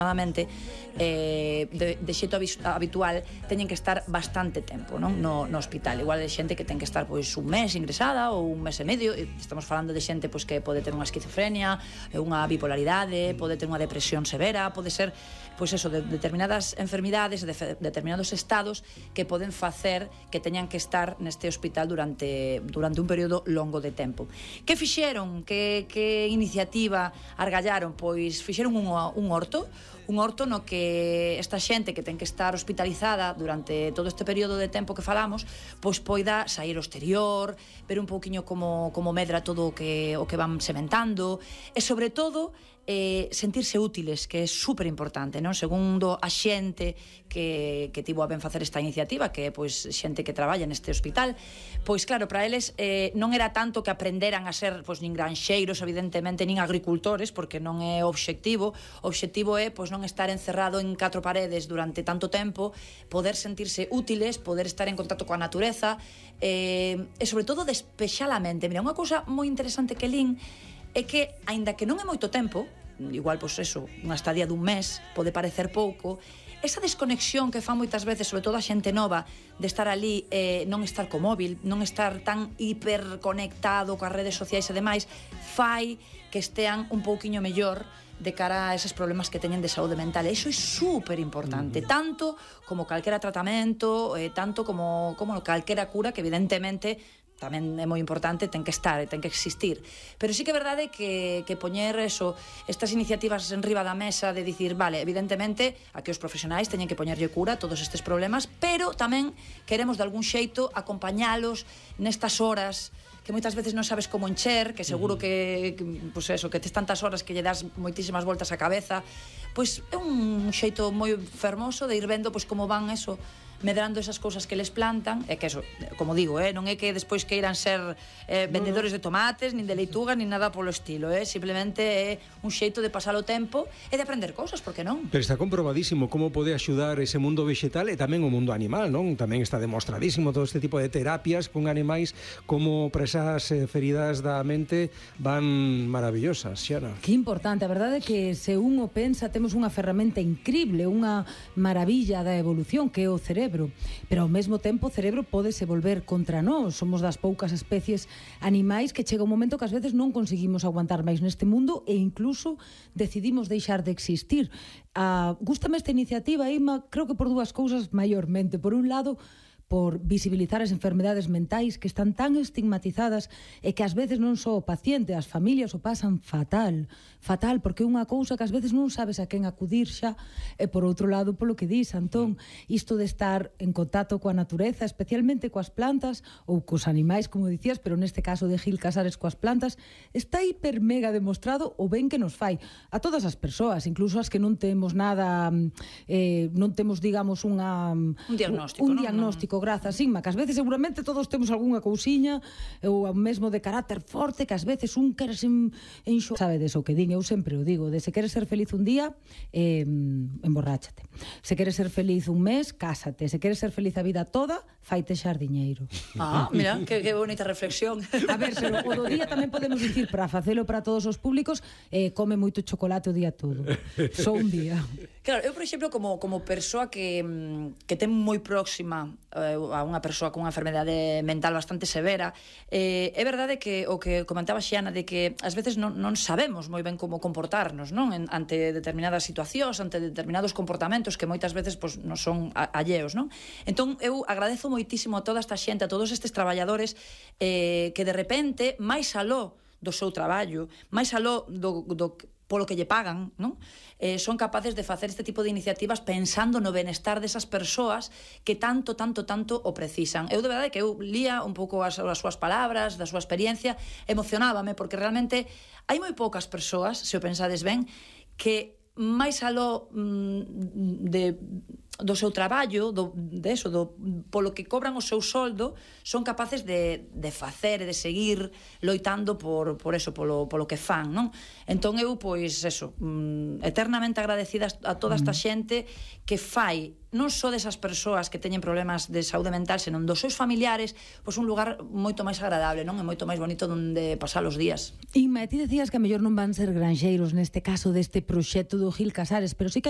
de xeito habitual teñen que estar bastante tempo, non? No hospital. Igual é xente que ten que estar pois un mes ingresada ou un mes e medio. Estamos falando de xente pois que pode ter unha esquizofrenia, unha bipolaridade, pode ter unha depresión severa, pode ser pois eso, de determinadas enfermidades, de determinados estados que poden facer que teñan que estar neste hospital durante un período longo de tempo. Que fixeron? Que iniciativa argallaron? Pois fixeron un horto no que esta xente que ten que estar hospitalizada durante todo este período de tempo que falamos, pois poida sair ao exterior, ver un pouquiño como medra todo o que van sementando, e sobre todo sentirse útiles, que é super importante, non? Segundo a xente que tivo a ben facer esta iniciativa, que é pois xente que traballa neste hospital, pois claro, para eles non era tanto que aprenderan a ser pois nin granxeiros, evidentemente, nin agricultores, porque non é o obxectivo. O obxectivo é pois non estar encerrado en 4 paredes durante tanto tempo, poder sentirse útiles, poder estar en contacto coa natureza, e sobre todo despexar a mente. Mira, unha cousa moi interesante que lin é que, aínda que non é moito tempo, igual, pois eso, unha estadía dun mes pode parecer pouco, esa desconexión que fan moitas veces, sobre todo a xente nova, de estar ali, non estar co móvil, non estar tan hiperconectado coas redes sociais e demais, fai que estean un pouquiño mellor de cara a eses problemas que teñen de saúde mental. E iso é super importante, tanto como calquera tratamento, tanto como calquera cura, que evidentemente tamén é moi importante, ten que estar, ten que existir. Pero sí que é verdade que poñer eso, estas iniciativas en riba da mesa de dicir, vale, evidentemente, aquí os profesionais teñen que poñerlle cura a todos estes problemas, pero tamén queremos de algún xeito acompañalos nestas horas que moitas veces non sabes como encher, que seguro que pois eso, que tes tantas horas que lle das moitísimas voltas á cabeza, pois é un xeito moi fermoso de ir vendo pois como van eso, medrando esas cousas que les plantan, e que eso, como digo, non é que despois queiran ser vendedores de tomates, nin de leitugas, nin nada polo estilo, simplemente é un xeito de pasar o tempo e de aprender cousas, por que non? Pero está comprobadísimo como pode axudar ese mundo vegetal e tamén o mundo animal, non? Tamén está demostradísimo todo este tipo de terapias con animais, como para esas feridas da mente van maravillosas, Xiana. Que importante, a verdade é que se un o pensa, temos unha ferramenta increíble, unha maravilla da evolución que é o cerebro, pero ao mesmo tempo o cerebro pódese volver contra nós. Somos das poucas especies animais que chega un momento que ás veces non conseguimos aguantar máis neste mundo e incluso decidimos deixar de existir. Gústame esta iniciativa, Ima, creo que por 2 cousas maiormente. Por un lado, por visibilizar as enfermedades mentais que están tan estigmatizadas e que ás veces non só o paciente, as familias o pasan fatal, porque é unha cousa que ás veces non sabes a quen acudir xa, e por outro lado, polo que dis, Antón, isto de estar en contacto coa natureza, especialmente coas plantas ou cos animais, como dicías, pero neste caso de Gil Casares coas plantas, está hiper mega demostrado o ben que nos fai a todas as persoas, incluso as que non temos nada, non temos, digamos, un diagnóstico, grazas, Inma, que ás veces seguramente todos temos algunha cousiña ou mesmo de carácter forte, que ás veces un queres sabedes o que din, eu sempre o digo, de se queres ser feliz un día, emborráchate. Se queres ser feliz un mes, cásate. Se queres ser feliz a vida toda, faite xardiñeiro. Mira, que bonita reflexión. A ver, pero o do día tamén podemos dicir, para facelo para todos os públicos, come moito chocolate o día todo. Só un día. Claro, eu, por exemplo, como persoa que ten moi próxima a unha persoa con unha enfermedade mental bastante severa, é verdade que o que comentaba Xiana, de que ás veces non sabemos moi ben como comportarnos, non? Ante determinadas situacións, ante determinados comportamentos que moitas veces non son alleos, non? Entón, eu agradezo moitísimo a toda esta xente, a todos estes traballadores que de repente, máis aló do seu traballo, máis aló polo que lle pagan, non? Son capaces de facer este tipo de iniciativas pensando no benestar desas persoas que tanto o precisan. Eu, de verdade, que eu lía un pouco as súas palabras, da súa experiencia, emocionábame, porque realmente hai moi poucas persoas, se o pensades ben, que máis aló do seu traballo, polo que cobran o seu soldo, son capaces de facer e de seguir loitando por eso, polo que fan, non? Entón eu, pois, eso, eternamente agradecida a toda esta xente que fai non só desas persoas que teñen problemas de saúde mental, senón dos seus familiares, pois un lugar moito máis agradable, non? E moito máis bonito onde pasar os días. Inma, ti decías que a mellor non van ser granxeiros neste caso deste proxecto do Gil Casares, pero sí que hai